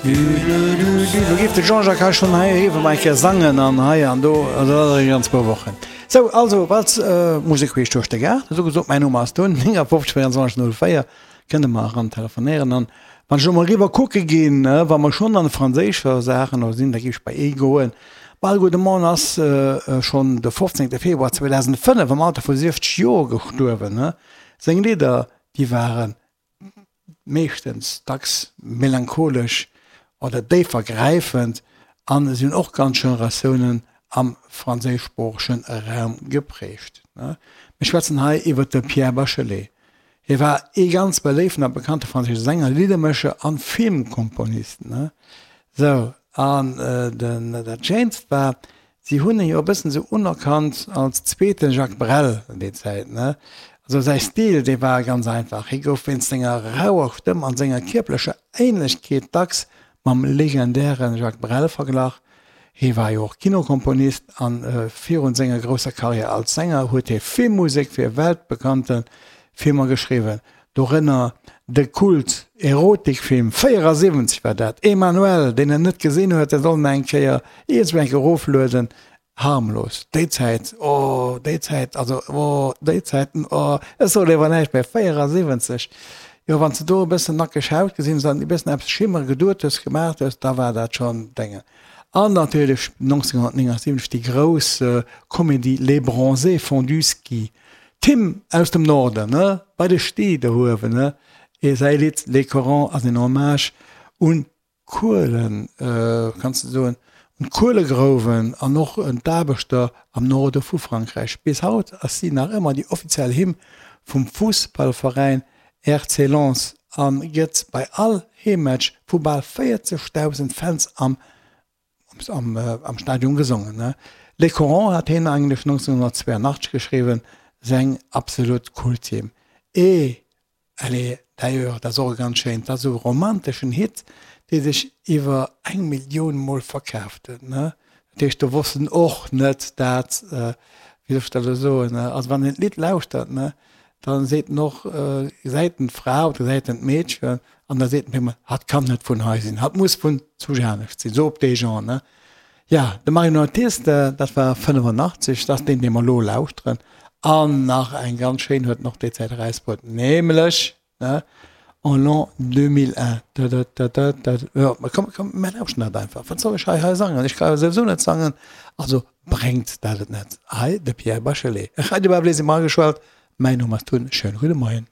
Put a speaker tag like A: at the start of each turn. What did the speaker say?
A: Do géif de Jean-Jacques hei schonn hei eriwwer mol eng Kéier sangen an hei an do, also dat ass eng ganz puer Wochen. Sou, also Walz, Musek queesch duerch de Gaart, esou gesot, mäin Numm ass Tun, 59 24 04, kënnt der mer eran telefonéieren an wann ech elo mol eriwwer kucke ginn, wa mer schonn an de franséischer Saachen elo sinn, da géif ech bei ee goen. Bal gudde Morgen ass schonn de 15 Februar 2005 am Alter vu 60 Joer gestuerwen. Seng Lidder, déi waren meeschtens dacks melancholesch oder déifergräifend an si hunn och ganz Generatiounen am franséischsproochege Raum geprägt. Mir schwätzen hei iwwer de Pierre Bachelet. Hie war ee ganz beléiften a bekannte franséische Sänger, Liddermécher an Filmkomponist. Sou, an den dat Schéinst war, Si hunn e jo e bëssen esou unerkannt als zweete Jacques Brel an déi Zäit, ne? Also säi Stil, dee war ganz einfach, hie gouf wéinst senger rauer Stëmm an senger kierperlecher Ähnlechkeet dacks mam legendäre Jacques Brel verglach. Hie war jo och Kinokomponist an virun senger grousser Karriär als Sänger huet hie Filmmusek fir weltbekannte Filmer geschriwwen. Dorënner de Kult-Erotikfilm, 74 war dat, Emmanuelle, deen en net gesinn huet, dee soll en eng Kéier iergendwou eng Kéier eroflueden, harmlos, déi Zäit, oh, déi Zäit, also oh, déi Zäiten, oh, ech soe léiwer näischt méi, 74, jo, wann s de do e bëssen nackeg Haut gesinn hues an e bëssen eppes schimmere geduet hues, gemaach hues, da war dat schonn Déngen. An natierlech 1979 déi grouss Comédie Les Bronzés font du ski, Tim aus dem Norden, ne, bei de Stee do uewen, ne, ee säi Lidd Les Corons ass en Hommage un d'Kuelen, kanns de soen, un d'Kuelegrouwen an och un d'Aarbechter am Norde vu Frankräich. Bis haut ass si nach ëmmer déi offiziell Hymn vum Fussballveräin RC Lens a gëtt bei all Heemmatch vu bal 40.000 Fans am am Stadion gesongen. Les Corons hat hien eigentlech 1982 geschriwwen, seng absolut Kulthymn. Et elle est d'ailleurs, dat ass och e ganz schéint, dat ass esou e romanteschen Hit, dee sech iwwer eng Millioun Mol verkaaft huet. Dat heescht, do wosst en och net dat, wéi soll ech dat elo soen, also wann een d'Lidd lauschtert, da seet en och, gesäit en d'Fra oder gesäit en d'Meedchen an da seet en op eemol, hatt kann net vun hei sinn, hatt muss vun zu Janescht sinn, sou op dee Genre, ne. Ja, de Marionettiste, dat war 85, dat ass deen, dee mer elo lauschteren. An nach eng ganz schéin huet en och déi Zäit erausbruet, nämlech, ne, En l'an 2001. Da-da-da-da-da. Jo, ma komm, komm, mir lauschteren dat einfach. Wat soll ech hei hei sangen? Ech ka jo souwisou net sangen. Also bréngt dat et net. Hei de Pierre Bachelet. Radio Bablé si mer ageschalt. Mäin Numm ass Tun. Schöne gudde Moien.